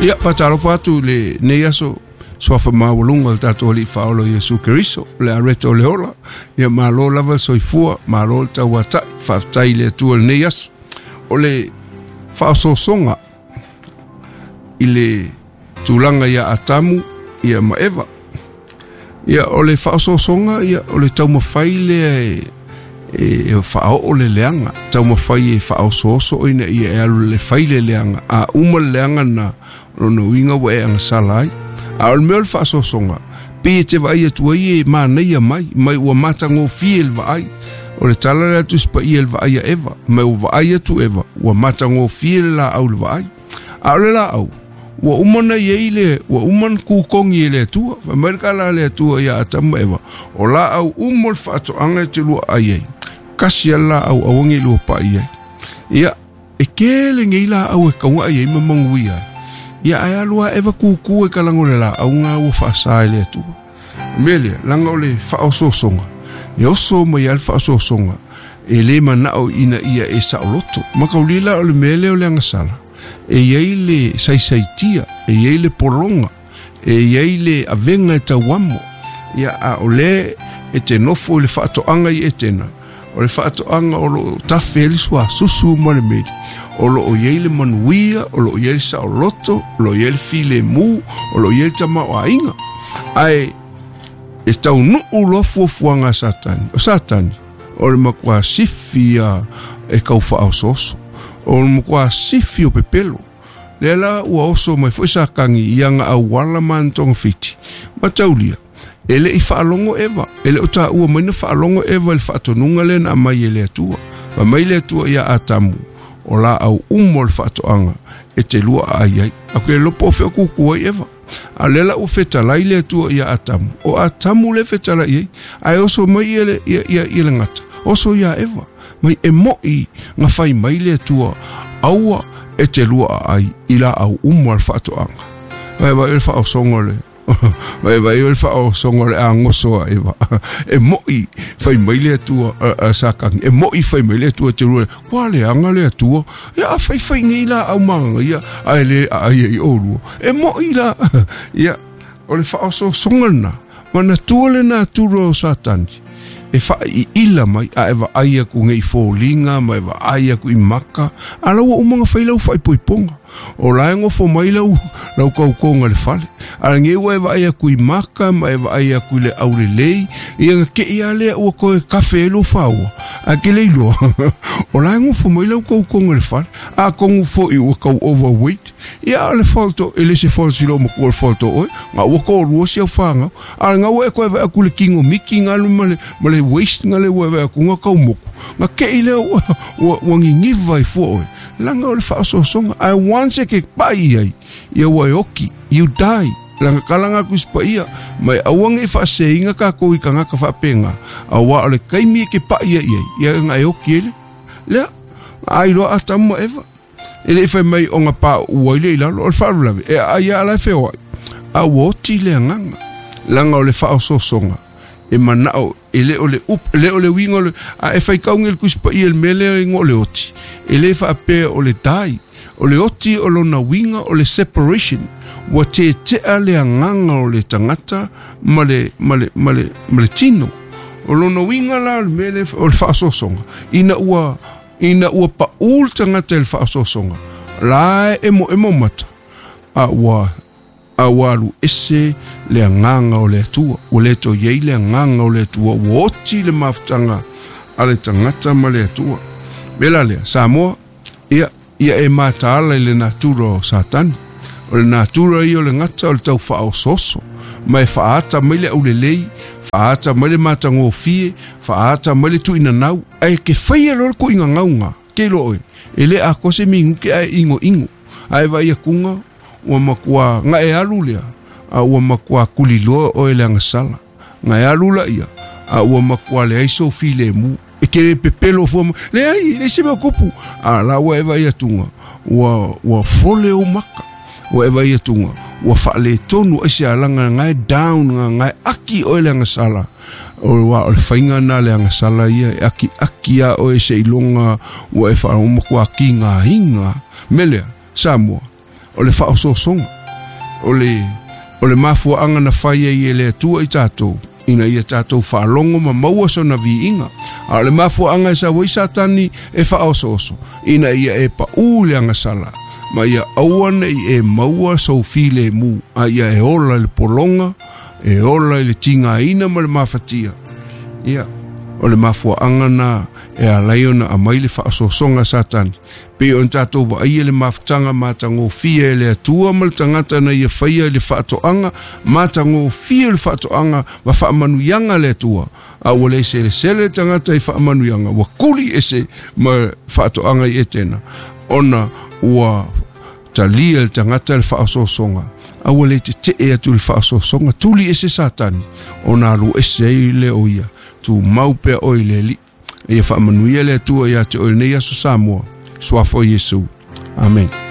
Ia, faatalofa atu i lenei aso suafa maualuga o le tatou Alii Faaola Iesu Keriso, le areta o le ola. Ia malo lava le soifua, malo le tauatai, faafetai i le Atua i lenei aso. O le faaosoosoga i le tulaga ia Atamu ia ma Eva. Ia o le faaosoosoga, ia o le taumafai lea e faaoo le leaga, taumafai e faaosooso ina ia e alu le fai le leaga, a uma le leaga na lona uiga ua e agasala ai. A o le mea o le faaosoosoga, pei e te vaai atu ai e manaia mai, mai ua matagofie le vaai. O le tala le atu Paia le vaai a Eva, mai ua vaai atu Eva, ua matagofie le laau le vaai. A o le laau, ua uma na iai le, ua uma na kukongi e le Atua. Fai mai le kala a le Atua ia Atamu ma Eva, o laau uma o le faatoaga e te lua ai ai, kasi a laau aua nei lua pai ai. Ia, e kele nei laau e kaunga ai ai ma manuia ai. Ia ae alu a Eva kuku e kalago le laau ngā ua faasa e le Atua. Mea lea, langa o le faaosoosoga, e oso mai a le faaosoosoga, e le manao ina ia e saoloto. Makaulila o le mea lea o le agasala, e iai le saisaitia, e iai le pologa, e iai le avega e tauamo. Ia a o le e te nofo i le faatoaga i Etena, o le faatoaga o loo tafe ai le suasusu ma le meli, o loo iai le manuia, o loo iai le saoloto, o loo iai le filemu, o loo iai le tamaoaiga. Ae e taunuu loa fuafuaga a Satani. O Satani, o le matua sifi ia e kau faaosooso, o le matua sifi o pepelo. Lea la ua oso mai foi Satani i aga auala ma ana togafiti. Ma taulia, e le i faalogo Eva, e le o taua mai na faalogo Eva i le faatonuga lea na aumai e le Atua. Fai mai le Atua ia Atamu, o laau uma o le faatoaga e te lua aai ai. A ke lopo o fea kuku ai Eva. A lea la ua fetalai le Atua ia Atamu. O Atamu le fetalai ai, ae oso mai ia le, ia, ia, ia le gata. Oso ia Eva. Mai e moi nga fai mai le Atua, aua e te lua aai i laau uma o le faatoaga. Vai vai o le faaosoga le vai vai o le faaosoga o le agoso a Eva. E moi fai mai le Atua a Satani, e moi fai mai le Atua te lua, kua leaga le Atua. Ia a fai fai nei laau magaga ia, ae le aai ai oulua. E moi la. Ia, o le faaosoosoga lena, manatua le natura o Satani. E faaiila mai, a e vaai atu nei i foliga, ma e vaai atu i maka, a la ua uma ona fai lau faaipoipoga. O la e nofo mai lau, lau kaukoga i le fale. A lenei ua e vaai atu i maka, ma e vaai atu i le aulelei, ia na kei lava lea ua toe kafe ai lou faoa, ae ke le iloa, o la e nofo mai lau kaukoga i le fale. Atonu foi ua tau overweight, ia o le fault o, e le se fault i lou matua o le fault o oe, na ua toalua si au fanau. A na ua e toe vaai atu i le tino miti na ma le, ma le waist na le ua e vaai atu na tau moku, na kei lea ua, ua, ua niniva ai fua oe. Langa o le faaosoosoga, ae once e ke pai ai, ia ua e oki, you die. Langa kalanga atu i se paia, ma e aua nei faaseseina tatou i tagata faapena, auā o le taimi e ke pai ai ai, ia na e oki ai lea. Lea, na ai loa Atamu ma Eva. E le i fai mai o na pauu ai lea i lalo, o le faalavelave, e aai lava la e feoai, a ua oti le agaga. Leaga o le faaosoosoga, e manao, e le o le upu, e le o le uiga o le, a e faitau nei i le Tusi Paia i le mea lea e igoa o le oti, e le faapea o le die, o le oti o lona uiga o le separation, ua tetea le agaga o le tagata ma le, ma le, ma le, ma le tino. O lona uiga la o le mea lea o le faaosoosoga, ina ua, ina ua pau le tagata i le faaosoosoga, la e emoemo mata, a ua, a ua alu ese le agaga o le Atua. Ua le toe i ai le agaga o le Atua, ua oti le mafutaga a le tagata ma le Atua. Mea la lea, Samoa, ia, ia e mataala i le natura o Satani. O le natura ia o le gata o le tau faaosooso, ma e faaata mai le aulelei, faaata mai le matagofie, faaata mai le tuuinanau, ae ke faia loa le tuuinanauga, ke iloa oe, e le atoa se minute ae inoino, ae vaai atuga ua matua na e alu lea, a ua matua tuliloa oe i le agasala. Na e alu laia, a ua matua leai sou filemu. E ke le pepelo fua mai, leai, e leai se mea o tupu. A la ua e vaai atuga, ua, ua fole ou maka. Ua e vaai atuga, ua faaletonu ai se alaga na e down, na e aki oe i le agasala. O, aua o le faiga lena a le agasala ia, e akiaki lava oe seiloga ua e faalogo matua tigaina. Mea lea, Samoa, O le faaosoosoga o le o le mafuaaga na fai ai e le Atua i tatou ina ia tatou faalogo ma maua sona viiga. A o le mafuaaga e sau ai Satani e faaosooso ina ia e paʻū le agasala ma ia aua neʻi e maua sou filemu a ia e ola i le pologa e ola i le tigaina ma le mafatia. Ia o le mafuaaga na e alai ona aumai le faaosoosoga a Satani pei ona tatou vaaia le mafutaga matagofie e le Atua ma le tagata na ia faia i le faatoaga matagofie le faatoaga ma faamanuiaga a le Atua a ua le selesele le tagata i faamanuiaga ua kuli ese ma faatoaga i Etena ona ua talia le tagata le faaosoosoga a ua le tetee atu i le faaosoosoga tuli ese Satani ona alu ese ai lea o ia tumau pea oe i le Alii. Ia faamanuia le Atua ia te oe i lenei aso Samoa. Suafa o Iesu. Amen.